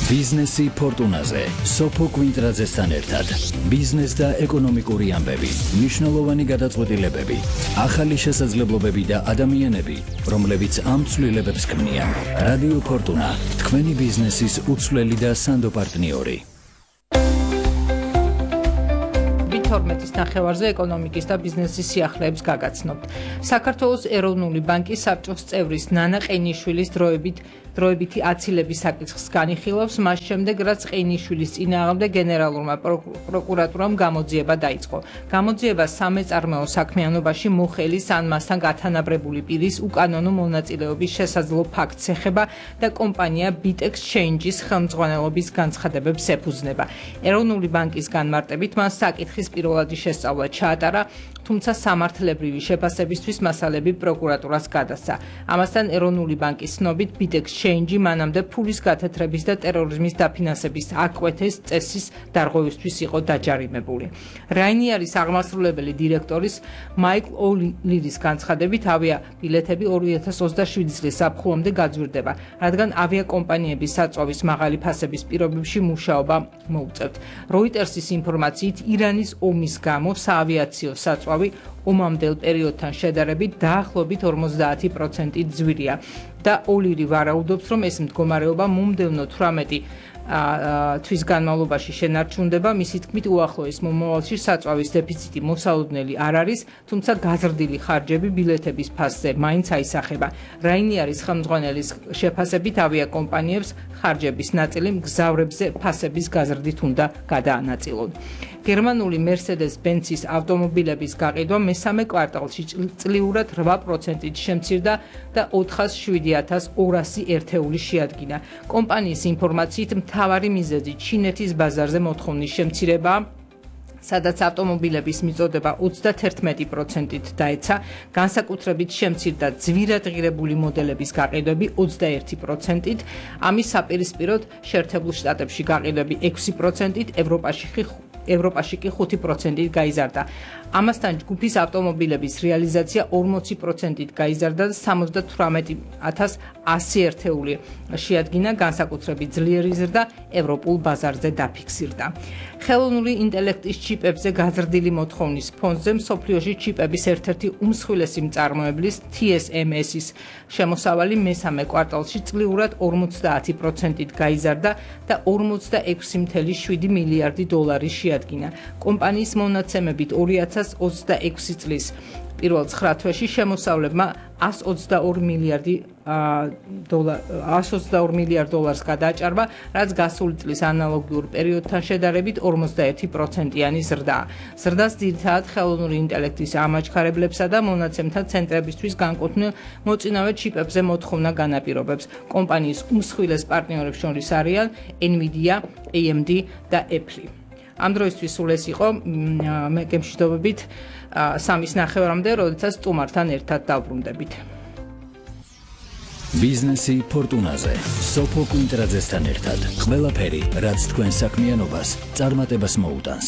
ბიზნესი ფორტუნაზე, სოფო კვინტრაძესთან ერთად. ბიზნეს და ეკონომიკური ამბები, მნიშვნელოვანი გადაწყვეტილებები, ახალი შესაძლებლობები და ადამიანები, რომლებიც ამ ცვლილებებს ქმნიან. რადიო ფორტუნა, თქვენი ბიზნესის უცვლელი და სანდო პარტნიორი. 12-ის ნახევარზე ეკონომიკის და ბიზნესის სიახლეებს გაგაცნობთ. საქართველოს ეროვნული ბანკის საბჭოს წევრის ნანა ყეინიშვილის დროებითი აცილების საკითხს განიხილავს, მას შემდეგ, რაც ყეინიშვილის წინააღმდეგ გენერალურმა პროკურატურამ გამოძიება დაიწყო. გამოძიება სამეწარმეო საქმიანობაში მოხელის ან მასთან გათანაბრებული პირის უკანონო მონაწილეობის შესაძლო ფაქტს ეხება და კომპანია BitExchange-ის ხელმძღვანელობის განცხადებებს ეფუძნება. ეროვნული ბანკის განმარტებით მას საკითხის პირველადი შესწავლა ჩაატარა, თუმცა სამართლებრივი შეფასებისთვის მასალები პროკურატურას გადასცა. ამასთან ეროვნული ბანკის ცნობით BitExchange მანამდე ფულის გათეთრების და ტერორიზმის დაფინანსების აკვეთის წესის დარღვევისთვის იყო დაჯარიმებული. რაინიარის აღმასრულებელი დირექტორის მაიკლ ოლირის განცხადებით ავიაბილეთები 2027 წლის ზაფხულამდე გაძვირდება, რადგან ავიაკომპანიების საწვავის მაღალი ფასების პირობებში მუშაობა მოუწევთ. როიტერსის ინფორმაციით ირანის ომის გამო საავიაციო საწვავი ომამდელ პერიოდთან შედარებით დაახლოებით 50%-ით ძვირია და ოლირი ვარაუდობს, რომ ეს მდგომარეობა მომდევნო 18 თვის განმავლობაში შენარჩუნდება. მისი თქმით, უახლოეს მომავალში საწვავის დეფიციტი მოსალოდნელი არ არის, თუმცა გაზრდილი ხარჯები ბილეთების ფასზე მაინც აისახება. რაინიარის ხელმძღვანელის შეფასებით ავიაკომპანიებს ხარჯების ნაწილი მგზავრებზე ფასების გაზრდით უნდა გადაანაწილონ. გერმანული Mercedes-Benz-ის ავტომობილების გაყიდვა მესამე კვარტალში წლიურად 8%-ით შემცირდა და 407,200 ერთეული შეადგინა. კომპანიის ინფორმაციით მთავარი მიზეზი ჩინეთის ბაზარზე მოთხოვნის შემცირებაა, სადაც ავტომობილების მიწოდება 31%-ით დაეცა, განსაკუთრებით შემცირდა ძვირადღირებული მოდელების გაყიდვები 21%-ით, ამის საპირისპიროდ შეერთებულ შტატებში გაყიდვები 6%-ით, ევროპაში კი 5%-ით გაიზარდა. ამასთან ჯგუფის ავტომობილების რეალიზაცია 40%-ით გაიზარდა და 78,100 ერთეული შეადგინა, განსაკუთრებით ძლიერი ზრდა ევროპულ ბაზარზე დაფიქსირდა. ხელოვნური ინტელექტის ჩიპებზე გაზრდილი მოთხოვნის ფონზე მსოფლიოში ჩიპების ერთ-ერთი უმსხვილესი მწარმოებლის TSMC-ის შემოსავალი მესამე კვარტალში წლიურად 50%-ით გაიზარდა და 46,7 მილიარდი დოლარი შეადგინა. კომპანიის მონაცემებით 2026 წლის პირველ 9 თვეში შემოსავლებმა 122 მილიარდ დოლარს გადააჭარბა, რაც გასული წლის ანალოგიურ პერიოდთან შედარებით 51%-იანი ზრდაა. ზრდას ძირითადად ხელოვნური ინტელექტის ამაჩქარებლებსა და მონაცემთა ცენტრებისთვის განკუთვნილ მოწინავე ჩიპებზე მოთხოვნა განაპირობებს. კომპანიის უმსხვილეს პარტნიორებს შორის არიან NVIDIA, AMD და Apple. ამ დროისთვის სულ ეს იყო, მე გემშვიდობებით 3-ის ნახევარამდე, როდესაც სტუმართან ერთად დავბრუნდებით. ბიზნესი ფორტუნაზე, სოფო კვინტრაძესთან ერთად. ყველაფერი, რაც თქვენ საქმიანობას წარმატებას მოუტანს.